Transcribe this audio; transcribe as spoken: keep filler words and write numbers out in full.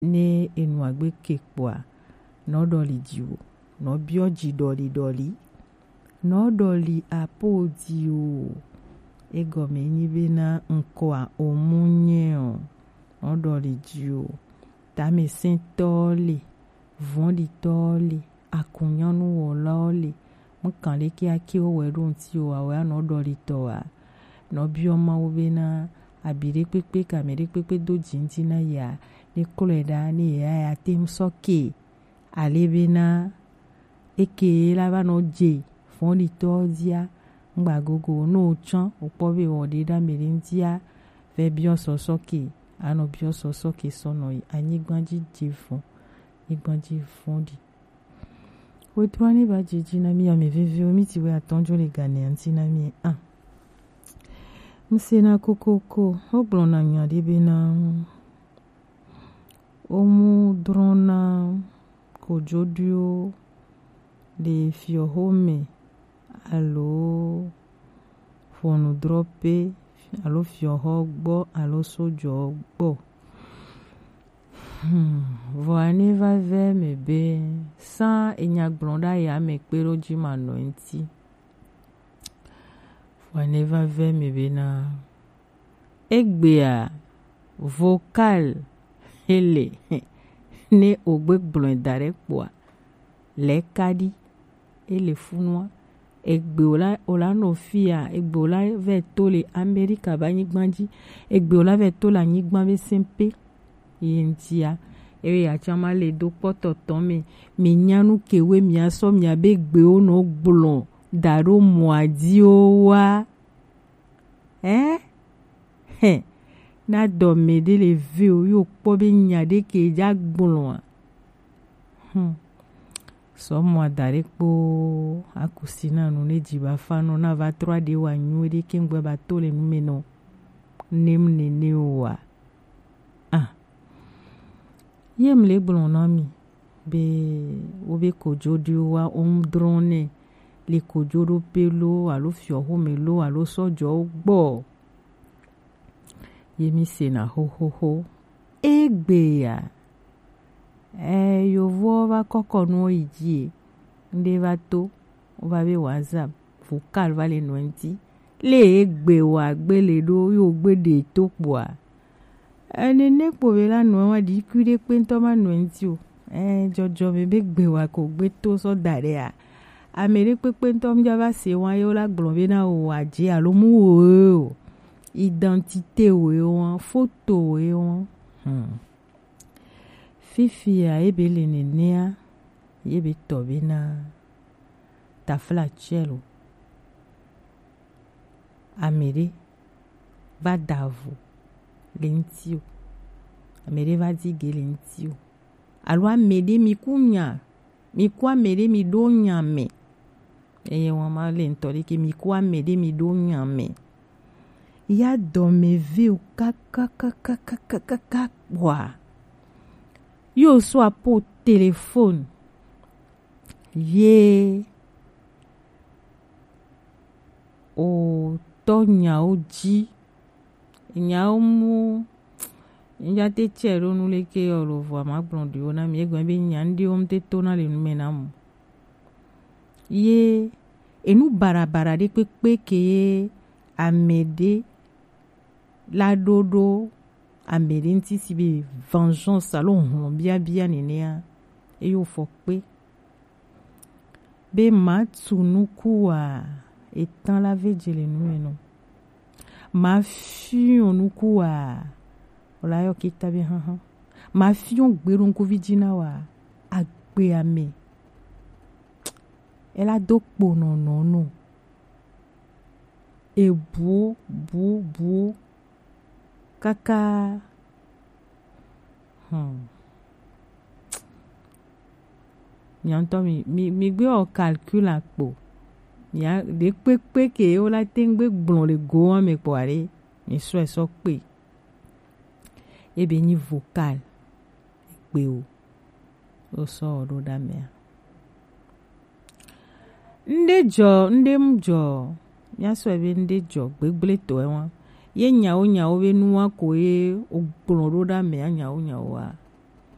Ne enu agbe ke kpoa, nɔ ɖɔli ji o, nɔ biɔ ji ɖɔli ɖɔli, nɔ ɖɔli apo ji o. Egɔme nyi bena ŋkɔa omu nyɛ o, nɔ ɖɔli ji o. Tamɛsɛntɔ le, vɔ̃ɖitɔ le, akunyanuwɔlawo le, mu kan ɖe ke ake wo wɛ ɖo ŋuti o, awɛ anɔ ɖɔlitɔ wa. Nɔ biɔ Mawu bena abi ɖe kpekpe ka mɛ ɖe kpekpe do dzi ŋuti na ya, ne klɔe ɖa, ne ya ya te ŋu sɔ ke. Ale bena eke la va nɔ dze vɔ̃ɖitɔ dzia, ŋgba gogo, no tsɔ, wokpɔ be wɔ ɖe ɖa mɛ ɖe ŋutia, vɛ biɔ sɔsɔ ke, anɔ biɔ sɔsɔ ke sɔ nɔ yi anyigba dzi dze vɔ̃, anyigba dzi vɔ̃ɖi. Wetru ani ba dzidzi na mi ame veviwo, mi ti wɛ atɔ̃ dzo le ganɛ ŋuti na mi a. Ŋse na kokoko, wogblɔna nya ɖe bena, womu drɔ̃na kojoɖiwo le fiɔxome alo ʋɔnudrɔ̃ƒe alo fiɔxɔ gbɔ alo sojɔ gbɔ. Hmm, vɔa ne va vɛ me be sã enya gblɔ ɖa ya me kpe ɖo dzi ma nɔ ŋuti. Vɔa ne va vɛ me be na egbea vocal ele ne ogbe gblɔe da ɖe kpoa le kaɖi ele funua. Egbe wòla wòla nɔ fia, egbe wòla vɛ to le Amerika be anyigba dzi, egbe wòla vɛ to le anyigba be sɛnpe ye ŋutia. Eye atsã ma le do kpɔtɔ tɔn me, mi nya nu ke we mia sɔ mia be gbewo nɔ gblɔ da ɖo mɔa dzi o wa. Ɛ? Hɛ. Na dɔ mɛ ɖe le ve o, yo kpɔ be nya ɖe ke dza gblɔ a. Hmm. Sɔ mɔ ada ɖe kpo akusi na nu ne dzi ba fa nɔ na va trɔ aɖe wa nyu ɖe ke ŋgbɛ ba to le nu me nɔ. Nem nene o wa. Ah. Ye mle gblɔ na mi be wo be kojoɖiwo wa wo ŋu drɔ̃ nɛ le kojoɖoƒe lo alo fiɔxome lo alo sɔjɔwo gbɔ. Ye mi sena xoxoxo. Egbe ya. Eh, yovowo va kɔkɔ nuwo yi dzi e. Ŋɖe va to, wova be WhatsApp, vocal va le nɔ ŋuti. Le egbe wa gbe le ɖo, yo gbe ɖe to kpoa. Enene kpo be la nɔ wa ɖi kui ɖe kpe ŋutɔ ma nɔ ŋuti o. Eh, jɔjɔme be gbe wa ko gbe to sɔ da ɖe a. Ame ɖe kpekpe ŋutɔ mu dza va se wa ye wo la gblɔ be na wo wa dze alo mu wo o. Identité wo ye wa, photo wo ye wa. Hmm. Fifia ye be le nenea, ye be tɔ be na tafla tsɛ lo. Ame ɖe va da vo le ŋuti o. Ame ɖe va di ge le ŋuti o. Alo ame ɖe mi ku nya, mi ku ame ɖe mi ɖo nya me. Eye wɔn ma le ŋutɔ ɖe ke mi ku ame ɖe mi ɖo nya me. Ya dɔme ve o kakakakakakaka kpɔa. Yo so apo téléphone. Ye o tɔ nyawo dzi. Nyawo mu ŋdza te tsɛ ɖo nu leke yɔ lo vɔa ma gblɔ ɖiwo na mi egɔme be nya ŋɖewo ŋte to na le nu me na mu. Ye enu barabara ɖe kpekpe ke ye ame ɖe la ɖo ɖo ame ɖe ŋuti si be vengeance alo hlɔ̃biabia nenea, eyo fɔ kpe. Be matu nuku wa, etan la ve dze le nu me nɔ. Mafiɔ nuku wa, o la yɔ kita be haha. Mafiɔ gbe ɖo ŋkuvi dzi na wa, agbe ame. Ela do kpo nɔ nɔ nɔ. Ebuo, buo, buo. Kaka. Hmm. Mia ŋutɔ mi, mi, mi gbe wɔ calcul akpo. Mia, ɖe kpekpe ke wo la te ŋgbe gblɔ le go wa me kpɔ aɖe, mi sɔe sɔ kpe. Ebe nyi vocal. Egbe o. Wo sɔ wɔ ɖo ɖa mea. Ŋɖe dzɔ, ŋɖe mu dzɔ. Mia sɔe be ŋɖe dzɔ gbegble tɔe wa. Ye nyawo nyawo be nua ko ye wo gblɔ ɖo ɖa mea nyawo nyawo wa.